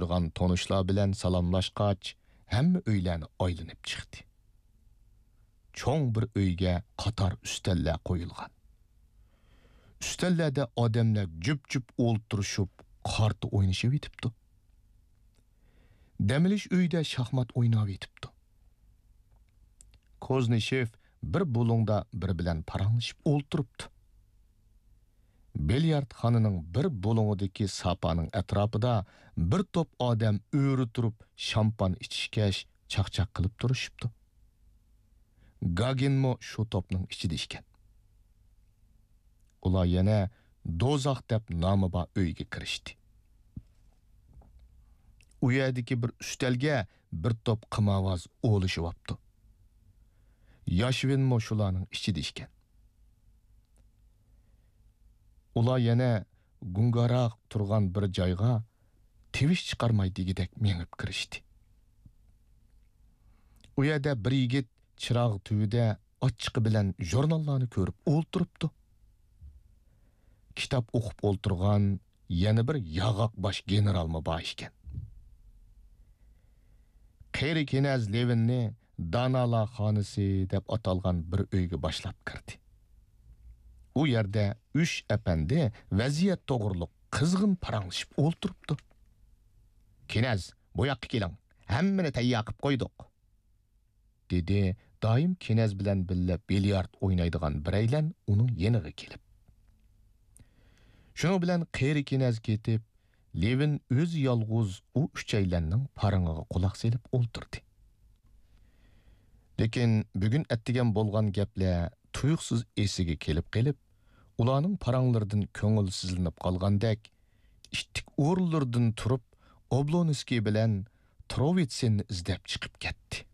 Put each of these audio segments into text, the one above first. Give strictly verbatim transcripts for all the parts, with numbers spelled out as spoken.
تونۇشلار بىلەن سالاملاشقاچ، ھەممە ئۆيلەرنى ئايلىنىپ چىقتى. چوڭ بىر ئۆيگە قاتار ئۈستەللەر قويۇلغان. ئۈستەللەردە ئادەملەر جۈپ-جۈپ ئولتۇرۇشۇپ، قارتا ئوينىشىۋېتىپتۇ. دەم ئېلىش ئۆيىدە شاھمات ئويناۋېتىپتۇ. كوزنىشېف بىر بۇلۇڭدا بىرى بىلەن پاراڭلىشىپ ئولتۇرۇپتۇ. بىليارتخانىنىڭ بىر بۇلۇڭىدىكى ساپانىڭ ئەتراپىدا بىر توپ ئادەم ئۆرە تۇرۇپ شامپان ئىچىشكەچ چاقچاق قىلىپ تۇرۇشۇپتۇ. گاگىنمۇ شۇ توپنىڭ ئىچىدە ئىكەن. ئۇلار يەنە دوزاخ دەپ نامى بار ئۆيگە كىرىشتى. ئۇ يەردىكى بىر ئۈستەلگە بىر توپ قىمارۋاز ئولىشىۋاپتۇ. ياشۋىنمۇ شۇلارنىڭ ئىچىدە ئىكەن. ئۇلار يەنە گۇڭگاراق تۇرغان بىر جايغا تىۋىش چىقارماي دېگۈدەك مېڭىپ كىرىشتى. ئۇ يەردە بىر يىگىت چىراغ تۈۋىدە ئاچچىقى بىلەن ژۇرناللارنى كۆرۈپ ئولتۇرۇپتۇ. كىتاب ئوقۇپ ئولتۇرغان يەنە بىر ياغاق باش گېنېرالمۇ بار ئىكەن. قېرى كېنەز لېۋىننى دانالار خانىسى دەپ ئاتالغان بىر ئۆيگە باشلاپ كىردى. ئۇ يەردە ئۈچ ئەپەندى ۋەزىيەت توغرۇلۇق قىزغىن پاراڭلىشىپ ئولتۇرۇپتۇ. «كېنەز، بۇ ياققا كېلىڭ، ھەممىنى تەييار قىپ قويدۇق.» دېدى دائىم كېنەز بىلەن بىللە بىليارت ئوينايدىغان بىرەيلەن ئۇنىڭ يېنىغا كېلىپ. شۇنىڭ بىلەن قېرى كېنەز كېتىپ، لېۋىن ئۆزى يالغۇز ئۇ ئۈچەيلەننىڭ پارىڭىغا قۇلاق سېلىپ ئولتۇردى. لېكىن بۈگۈن ئەتىگەن بولغان گەپلەر تۇيۇقسىز ئېسىگە كېلىپ قېلىپ، ئۇلارنىڭ پاراڭلىرىدىن كۆڭۈلسىزلىنىپ قالغاندەك، ئىتتىك ئورۇنلىرىدىن تۇرۇپ، ئوبلونسكىي بىلەن تروۋىتسېننى ئىزدەپ چىقىپ كەتتى.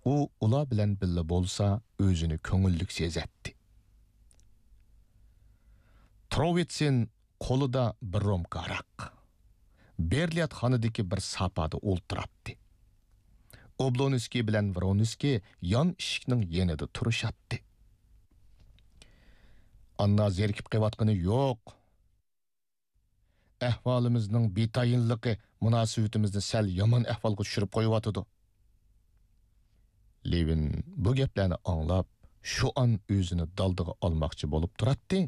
ئۇ ئۇلار بىلەن بىللە بولسا، ئۆزىنى كۆڭۈللۈك سېزەتتى. تروۋىتسېن قولىدا بىر رومكا ھاراق، بېرلياتخانىدىكى بىر ساپادا ئولتۇراتتى. ئوبلونسكىي بىلەن ۋرونسكىي يان ئىشىكنىڭ يېنىدا تۇرۇشاتتى. ئاننا زېرىكىپ قېلىۋاتقىنى يوق. ئەھۋالىمىزنىڭ بىتايىنلىقى مۇناسىۋىتىمىزنى سەل يامان ئەھۋالغا چۈشۈرۈپ قويۇۋاتىدۇ. لېۋىن بۇ گەپلەرنى ئاڭلاپ، شۇ ئان ئۆزىنى دالدىغا ئالماقچى بولۇپ تۇراتتى،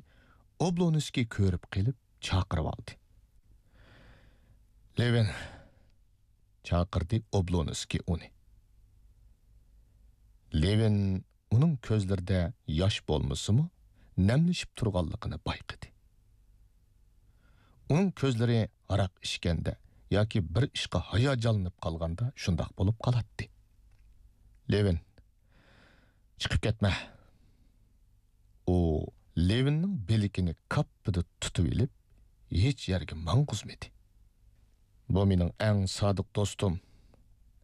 ئوبلونسكىي كۆرۈپ قېلىپ چاقىرىۋالدى. «لېۋىن!» چاقىردى ئوبلونسكىي ئۇنى. لېۋىن ئۇنىڭ كۆزلىرىدە ياش بولمىسىمۇ، نەملىشىپ تۇرغانلىقىنى بايقىدى. ئۇنىڭ كۆزلىرى ھاراق ئىچكەندە ياكى بىر ئىشقا ھاياجانلىنىپ قالغاندا شۇنداق بولۇپ قالاتتى. «لېۋىن، چىقىپ كەتمە!» ئۇ لېۋىننىڭ بىلىكىنى كاپپىدە تۇتۇۋېلىپ، ھېچ يەرگە ماڭغۇزمىدى. «بۇ مېنىڭ ئەڭ سادىق دوستۇم،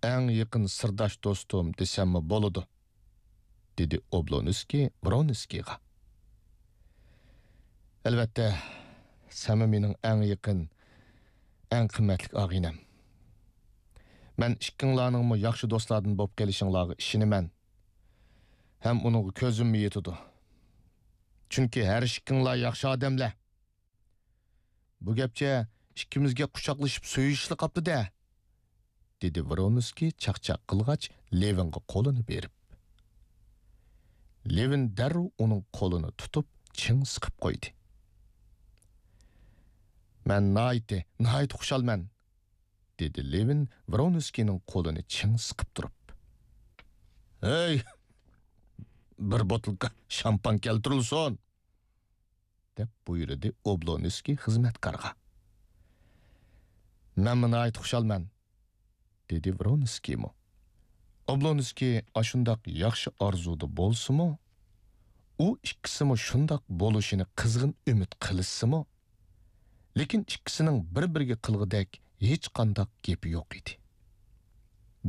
ئەڭ يېقىن سىرداش دوستۇم دېسەممۇ بولىدۇ»، دېدى ئوبلونسكىي ۋرونسكىيغا. «ئەلۋەتتە، سەنمۇ مېنىڭ ئەڭ يېقىن، ئەڭ قىممەتلىك ئاغىنەم. مەن ئىككىڭلارنىڭمۇ ياخشى دوستلاردىن بولۇپ قېلىشىڭلارغا ئىشىنىمەن. ھەم ئۇنىڭغا كۆزۈممۇ يېتىدۇ. چۈنكى ھەر ئىككىڭلار ياخشى ئادەملەر.» «بۇ گەپچە ئىككىمىزگە قۇچاقلىشىپ سۆيۈشلا قاپتۇ-دە!» دېدى ۋرونسكىي چاقچاق قىلغاچ، لېۋىنغا قولىنى بېرىپ. لېۋىن دەررۇ ئۇنىڭ قولىنى تۇتۇپ، چىڭ سىقىپ قويدى. «مەن ناھايىتى، ناھايىتى خۇشالمەن!» دېدى لېۋىن ۋرونسكىينىڭ قولىنى چىڭ سىقىپ تۇرۇپ. «ھەي، بىر بوتۇلكا شامپان كەلتۈرۈلسۇن!» دەپ بۇيرۇدى ئوبلونسكىي خىزمەتكارغا. «مەنمۇ ناھايىتى خۇشالمەن.» دېدى ۋرونسكىيمۇ. ئوبلونسكىي ئاشۇنداق ياخشى ئارزۇدا بولسىمۇ، ئۇ ئىككىسىمۇ شۇنداق بولۇشىنى قىزغىن ئۈمىد قىلىشسىمۇ، لېكىن ئىككىسىنىڭ بىر-بىرىگە قىلغۇدەك ھېچقانداق گېپى يوق ئىدى.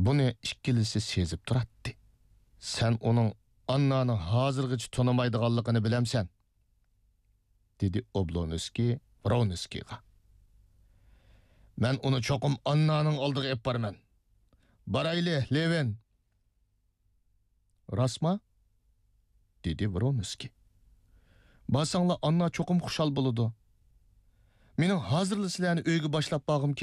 بۇنى ئىككىلىسى سېزىپ تۇراتتى. «سەن ئۇنىڭ ئاننانى ھازىرغىچە تونۇمايدىغانلىقىنى بىلەمسەن؟» دېدى ئوبلونسكىي ۋرونسكىيغا. «مەن ئۇنى چوقۇم ئاننانىڭ ئالدىغا ئېلىپ بارىمەن. بارايلى، لېۋىن!» «راستما؟» دېدى ۋرونسكىي. «بارساڭلار، ئاننا چوقۇم خۇشال بولىدۇ. مېنىڭ ھازىرلا سىلەرنى ئۆيگە باشلاپ بارغۇم